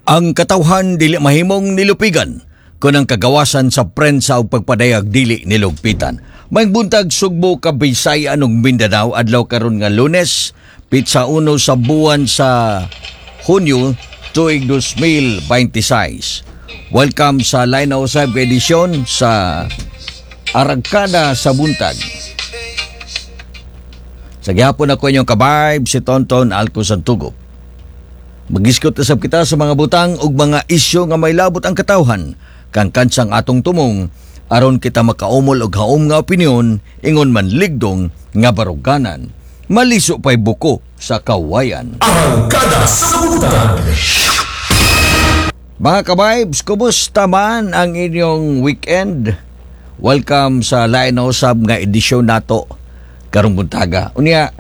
Ang katawhan dili mahimong nilupigan kun ang kagawasan sa prensa o pagpadayag dili nilugpitan. May buntag, Sugbo, Kabisayan ug Mindanao. Adlaw karon nga Lunes, pitsa 1 sa buwan sa Hunyo, tuig 2026. Welcome sa Line Usab edisyon sa Arangkada sa Buntag. Sa gihapon, ako inyong ka-vibe, si Tonton Alco Santugo. Magisgot usab kita sa mga butang ug mga isyu nga may labot ang katawhan kang kansang atong tumong aron kita makaumol og haom nga opinyon, ingon man ligdong nga baruganan. Maliso pa'y buko sa kawayan. Arangkada sa Buntag. Mga ka-vibes, kumusta man ang inyong weekend? Welcome sa Lain na Usab nga edisyon nato karong buntaga. Unya,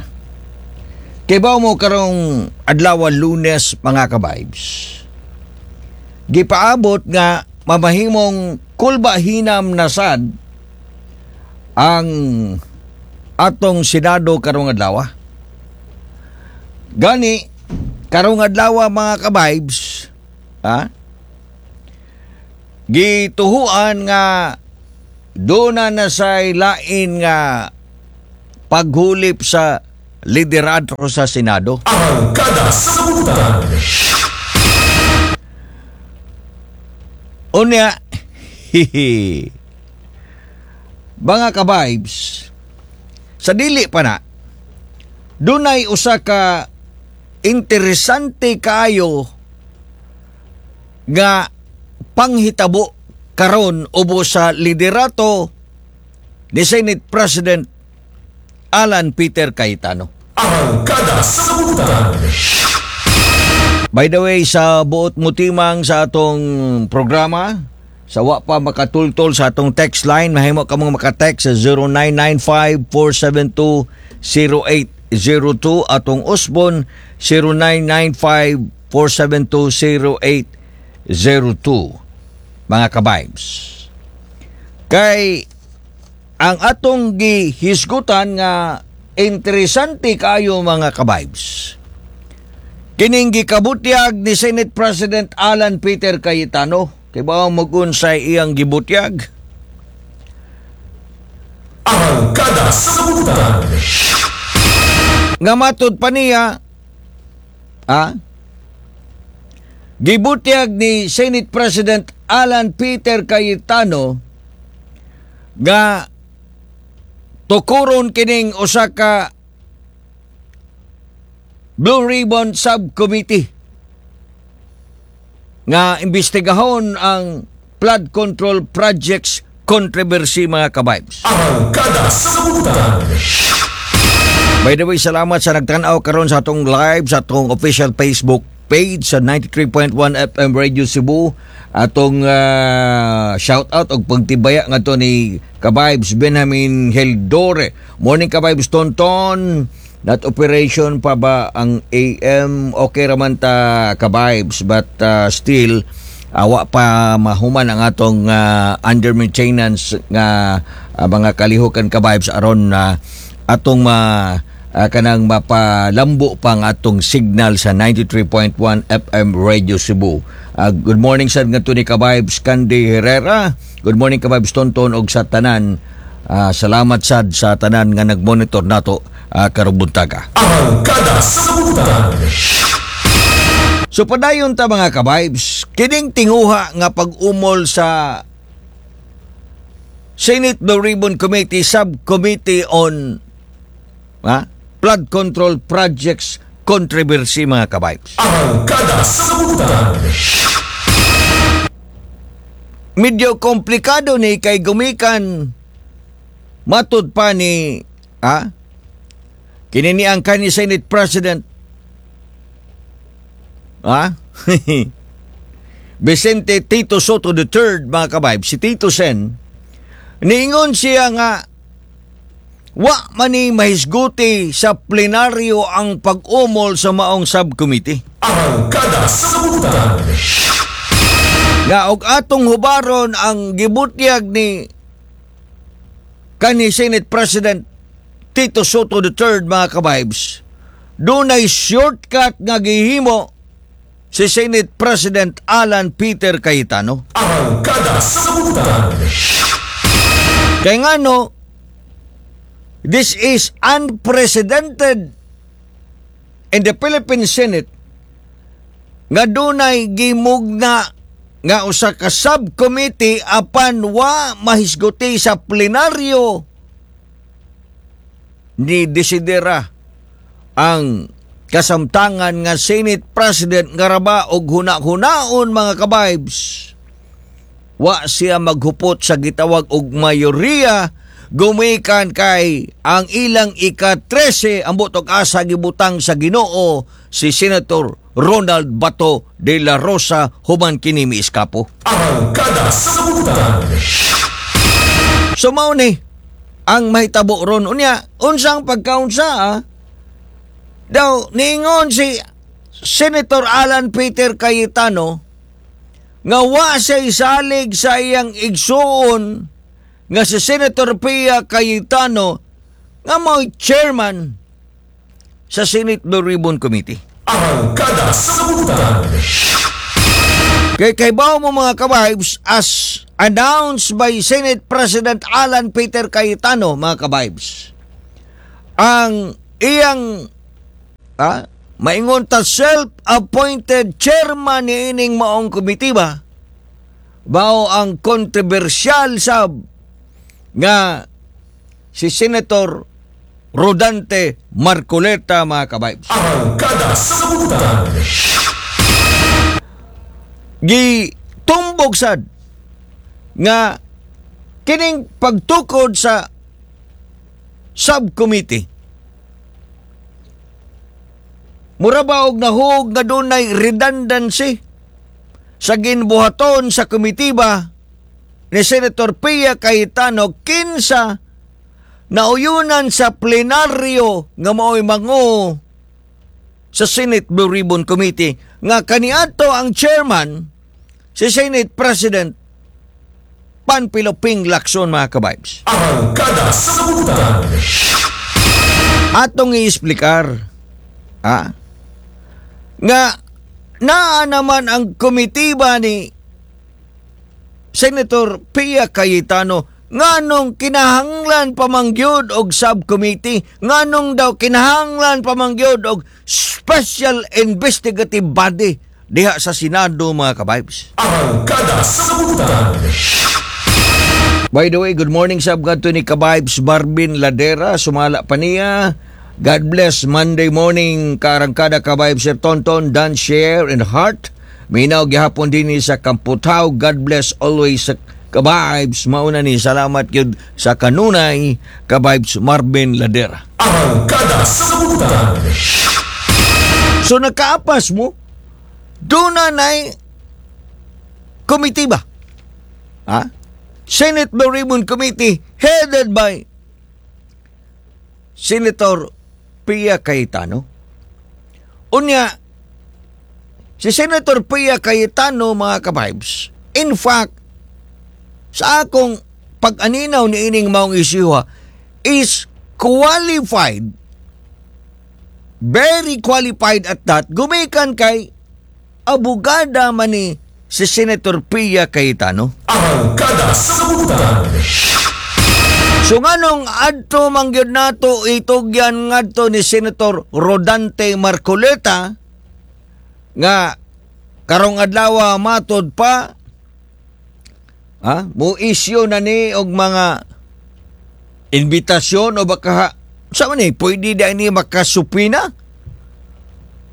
kibaw mo, karong adlaw Lunes, mga ka-vibes, gipaabot nga mamahimong kulba hinam na sad ang atong Senado karong adlaw. Gani, karong adlaw, mga ka-vibes, ha? Gituhuan nga duna na sa lain nga paghulip sa liderato sa Senado. Arangkada sa Buntag. Unya, hihi. Mga ka-vibes, sa dili pa na, dunay usa ka interesante kaayo nga panghitabo karon ubo sa liderato ni Senate President Alan Peter Cayetano. Arangkada sa Buntag. By the way, sa buot mutimang sa atong programa, sa wa pa makatultol sa atong text line, mahimo ka mong makatext sa 0995-472-0802, atong usbon 0995-472-0802, mga ka-vibes. Kay ang atong gihisgutan nga interesante kayo, mga ka-vibes, kining gikabutyag ni Senate President Alan Peter Cayetano. Kay ba mag-unsay iyang gibutyag? Arangkada sa Buntag. Nga matud pa niya, gibutyag ni Senate President Alan Peter Cayetano nga tukuron kining usa ka Blue Ribbon Subcommittee nga imbestigahon ang flood control projects controversy, mga ka-vibes. Arangkada sa Buntag. By the way, salamat sa nagtanaw karon sa atong live sa atong official Facebook page sa 93.1 FM Radio Cebu. Atong shout out og pagtibaya ngadto ni ka-vibes Benjamin Heldore. "Morning, ka-vibes Tonton. Not operation pa ba ang AM?" Okay raman ta, ka-vibes, but still awa pa mahuman ang atong under maintenance nga mga kalihukan, ka-vibes, aron na atong ma kanang mapalambo pa ang atong signal sa 93.1 FM Radio Cebu. Good morning sad ngadto ni ka-vibes Candy Herrera. "Good morning, ka-vibes Tonton og sa tanan." Salamat sad sa tanan nga nagmonitor nato karong buntaga. Arangkada sa Buntag. So padayon ta, mga ka-vibes, kining tinguha nga pag-umol sa Senate Blue Ribbon Committee Subcommittee on Flood Control Projects controversy, mga ka-vibes. Arangkada sa Buntag. Medyo komplikado ni kay gumikan matud pa ni kini ni ang kanhi Senate President Vicente Tito Sotto III, mga ka-vibe, si Tito Sen, niingon siya nga wa man ni mahisguti sa plenaryo ang pag-umol sa maong subcommittee. Arangkada sa Buntag. Nga og atong hubaron ang gibutyag ni kanhi Senate President Tito Sotto III, mga ka-vibes, dunay shortcut nga gihimo. si Senate President Alan Peter Cayetano. Arangkada sa Kalibutan. Kaya nga no, this is unprecedented in the Philippine Senate nga dunay gimugna nga usa ka subcommittee apan wa mahisguti sa plenaryo, ni desidera ang kasamtangan nga Senate President nga raba og huna-hunaon, mga kabibes, wa siya maghupot sa gitawag og mayoriya gumikan kay ang ilang ika-13 ang butog asa gibutang sa Ginoo, si Senator Ronald Bato de la Rosa, human kini miiskapo. Arangkada sa Kalibutan. So mao ni ang mahitabo ron. Unya, unsang pagkaunsa ah? Daw niingon si Senator Alan Peter Cayetano nga wa siya isalig sa iyang igsuon nga si Senator Pia Cayetano nga mao'y chairman sa Senate Blue Ribbon Committee. Arangkada sa Kalibutan. Kay kaybaw mo, mga kabibes, as announced by Senate President Alan Peter Cayetano, mga kabibes, ang iyang maingon ta self-appointed chairman ni ining maong komitiba mao ang kontrobersyal sab nga si Senator Rodante Marcoleta, mga kabibes. Arangkada sa Kalibutan. Gitumbog sad nga kining pagtukod sa subcommittee mura ba og nahug nga dunay redundancy sa ginbuhaton sa komitiba ni Senator Pia Cayetano, kinsa nauyunan sa plenaryo nga mao'y mangu sa Senate Blue Ribbon Committee nga kaniadto ang chairman si Senate President Panfilo Ping Lacson, mga kabibes. Arangkada sa Kalibutan. Atong i-explicar nga naa naman ang komitiba ni Senator Pia Cayetano, nganong kinahanglan pa man gyud og subcommittee, nganong daw kinahanglan pa man gyud og special investigative body diha sa Senado, mga kabibes. Arangkada sa Kalibutan. By the way, good morning sa kadto ni Kabibes Marvin Ladera, sumala pa niya. God bless Monday morning, karangkada Kabibes Sir Tonton, Dan Share and Heart. Minaw gihapon din ni sa Kamputaw. God bless always sa Kabibes. Mauna ni, salamat gyud sa kanunay, Kabibes Marvin Ladera. Arangkada sa Kalibutan. So nakaapas mo, doon na na'y committee ba? Ha? Senate Blue Ribbon Committee headed by Senator Pia Cayetano. Unya, si Senator Pia Cayetano, mga kabibes, in fact, sa akong pag-aninaw ni ining maong isyuha, is qualified, very qualified at that, gumikan kay abogada man ni si Senator Pia Cayetano. Arangkada sa Kalibutan. So nganong adto man gyud nato itugyan ngadto ni Senator Rodante Marcoleta nga karong adlaw matod pa ha, mo issue na ni og mga imbitasyon o baka sa man ni pwede da ni makasupina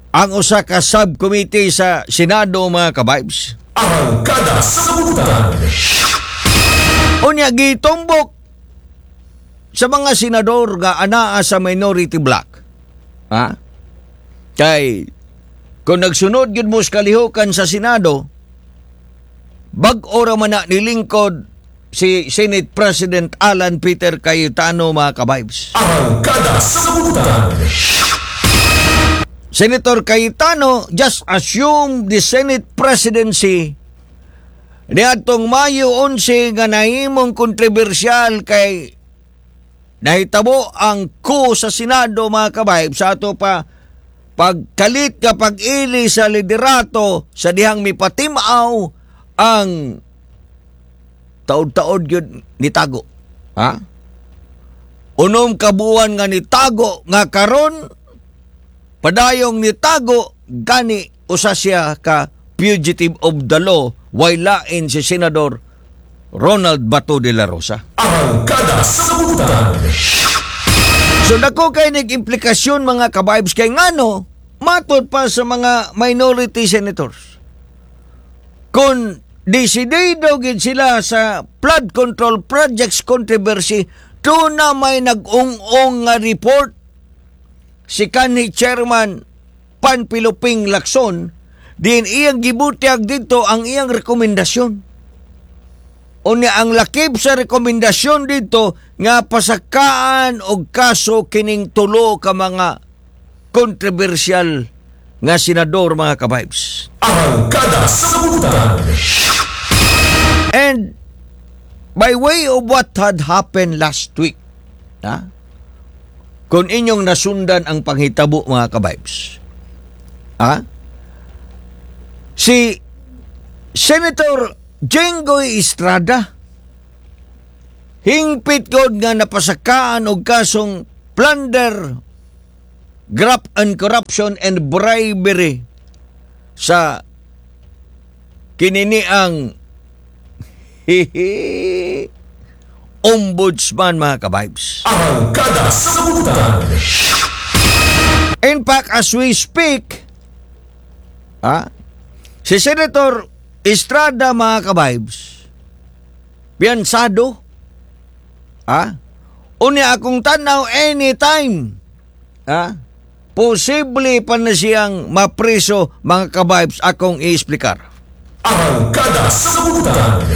ang usa ka subcommittee sa Senado, mga kabibes. Arangkada sa Kalibutan. Unya gitumbok sa mga senador nga anaa sa minority bloc. Ha? Kay kung nagsunod gyud mo sa kalihukan sa Senado, bag-o ra man na nilingkod si Senate President Alan Peter Cayetano, mga kabibes. Arangkada sa Kalibutan. Senator Cayetano just assumed the Senate presidency niadtong Mayo 11 nga nahimong kontrobersyal kay nahitabo ang coup sa Senado, mga kabibes, sa ato pa. Pagkalit ka pag-ili sa liderato sa dihang mipatimaw ang taod-taod yun nitago. Ha? 6 ka buwan nga nitago nga karon padayong nitago, gani usa siya ka fugitive of the law, way lain si Senador Ronald Bato de la Rosa. Arangkada sa Kalibutan. So dako kay nag-implikasyon, mga kabibes, kay ngano matod pa sa mga minority senators, kung desidido gid sila sa flood control projects controversy, na may nag-ung-ong nga report si kanhi Chairman Panfilo Ping Lacson din, iyang gibutyag dito ang iyang rekomendasyon. Unya ang lakip sa rekomendasyon dito nga pasakaan og kaso kining tulo ka mga controversial nga senador, mga kabibes. Arangkada sa Kalibutan. And by way of what had happened last week, ha? Kung inyong nasundan ang panghitabo, mga kabibes, ha? Si Senator Jinggoy Estrada hingpit gud nga napasakaan og kasong plunder, graft and corruption and bribery sa kinini ang ombudsman, mga kabibes. Arangkada sa Kalibutan. In fact, as we speak, si Senator Estrada, mga kabibes, piyansado, unya akong tanaw anytime, posible pa na siyang mapreso, mga kabibes, akong i-explicar. Arangkada sa Kalibutan.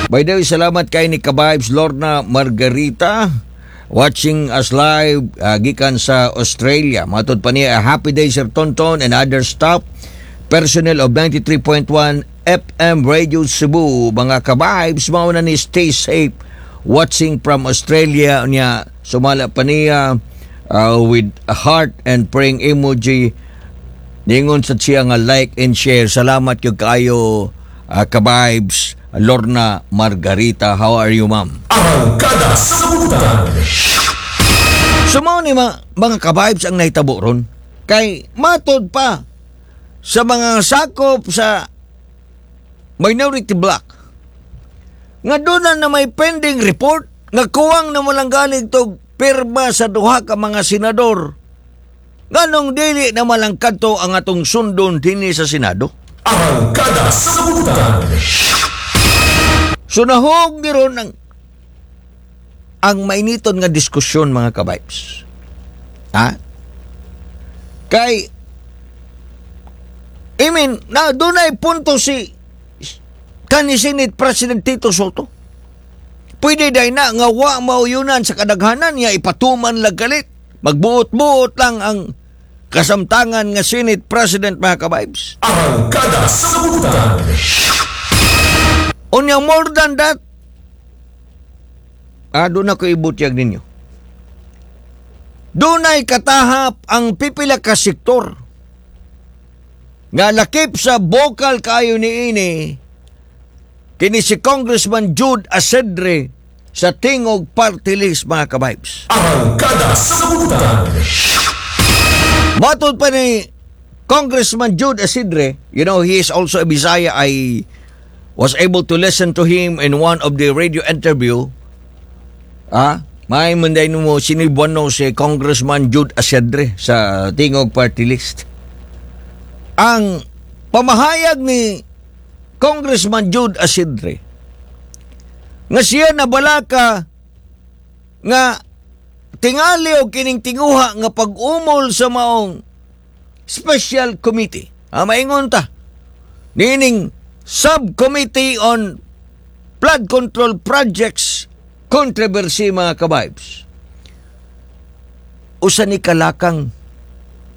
By the way, salamat kay ni Kabibes Lorna Margarita watching us live gikan sa Australia. Matod pa niya, "A happy day, Sir Tonton and other staff personnel of 93.1 FM Radio Cebu. Mga kabibes, mao na ni, stay safe, watching from Australia." Niya sumala pa niya with a heart and praying emoji. Ningon sa siya nga like and share. Salamat gyud kaayo, Kabibes Lorna Margarita. How are you, ma'am? Arangkada sa Kalibutan. So mao ni mga kabibes ang nahitabo ron. Kay matod pa sa mga sakop sa minority bloc nga doon na may pending report nga kuwang na walang galing tog pirma sa duha ka mga senador, nganong dili na malang kadto ang atong sundon dinhi sa Senado. Arangkada sa Kalibutan. So nahog ni ron ang mainiton nga diskusyon, mga kabibes. Ha? Kay I mean, na dunay punto si kani Senate President Tito Sotto. Pwede day na nga wa mauyunan sa kadaghanan niya ipatuman lang galit. Magbuot-buot lang ang kasamtangan nga Senate President, mga kabibes. Arangkada sa Kalibutan. Unya more than that, doon ako ibutyag ninyo. Dunay katahap ang pipila ka sektor nga lakip sa vocal kayo ni ini kini si Congressman Jude Asedre sa Tingog Party List, mga kabibes. Arangkada sa Kalibutan. Matod pa ni Congressman Jude Asidre, he is also a Bisaya. I was able to listen to him in one of the radio interview. May munday mo sinibuano si Congressman Jude Asidre sa Tingog Party List. Ang pamahayag ni Congressman Jude Asidre nga siya nabalaka nga tingali og kining tinguha nga pag-umol sa maong special committee. Maingon ta nining Subcommittee on Flood Control Projects controversy, mga kabibes. Usa ni kalakang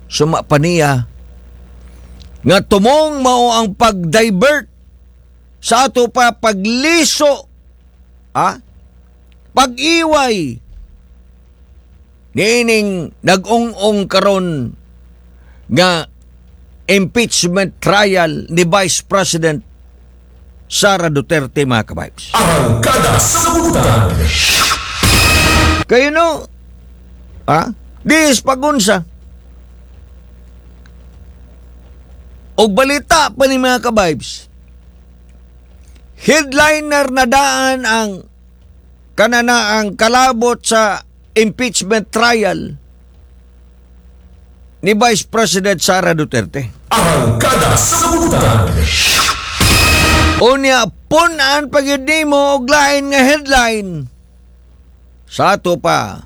suma pa niya nga tumong mao ang pag-divert sa ato pa pagliso, pag-iway niining nag-ung-ong karon Nga impeachment trial ni Vice President Sara Duterte, mga kabibes. Arangkada sa Butan. Kayo no, ha? Dis pagunsa. Og balita pa ni mga kabibes. Headliner na daan ang kanana ang kalabot sa impeachment trial ni Vice President Sara Duterte. Arangkada sa Butan. Unya, punan pag nimo og lain nga headline. Sa ato pa,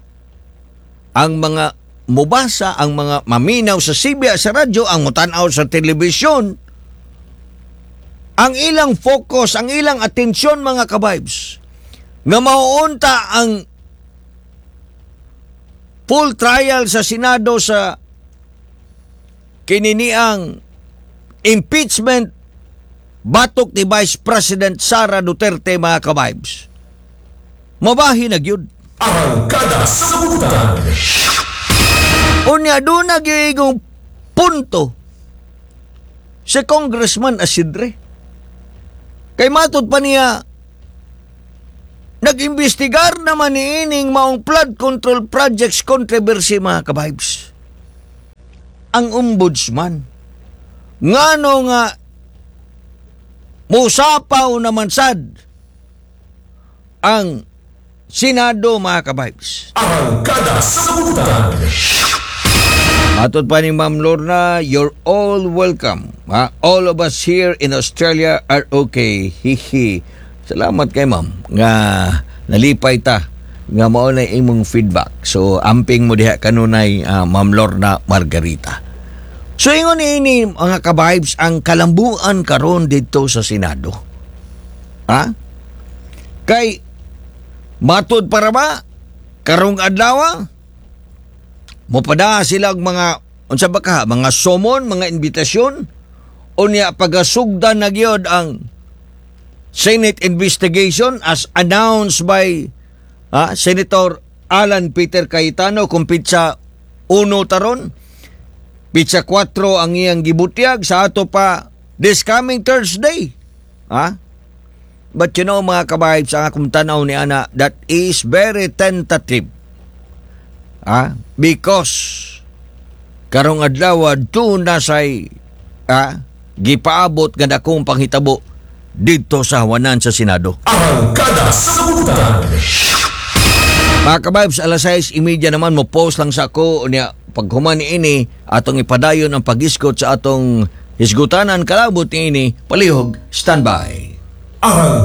ang mga mubasa, ang mga maminaw sa sibya sa radyo, ang mutanaw sa telebisyon, ang ilang focus, ang ilang atensyon, mga kabibes, nga mauunta ang full trial sa Senado sa kininiang impeachment batok ni Vice President Sara Duterte, mga kabibes. Mabahin na gyud. Arangkada sa Butan. Unya doon nagiging punto si Congressman Asidre. Kay matod pa niya, nag-imbestigar naman ni ining maong flood control projects controversy, mga kabibes. Ang ombudsman. Ngano nga musapaw naman sad ang Senado, mga kabibes. Arangkada sa Butan. Matod pa ni Ma'am Lorna, "You're all welcome. Ha? All of us here in Australia are okay. Hihi." Salamat kay Ma'am nga nalipay ta nga mao na imong feedback. So amping mo diha kanunay, Ma'am Lorna Margarita. So ingon ini, mga kabibes, ang kalambuan karon didto sa Senado. Ha? Kay matud para ba karong adlaw mopada sila og mga unsa ba ka mga summon, mga imbitasyon, unya pagasugdan na gyud ang Senate investigation as announced by Senator Alan Peter Cayetano kung pitsa 1 taron, pitsa 4 ang iyang gibutyag sa ato pa this coming Thursday. Ha? But you know, mga kabahay, sa akong tanaw ni ana, that is very tentative. Ah, because karong adlaw doon na say gipaabot nga dakong panghitabo didto sa hawanan sa Senado. Arangkada sa Butan. Mga kabibes, alas 6:30 naman mo post lang sa ako niya. Paghuman ini, atong ipadayon ang paghisgot sa atong hisgutanan kalabot niini. Palihog standby. Arang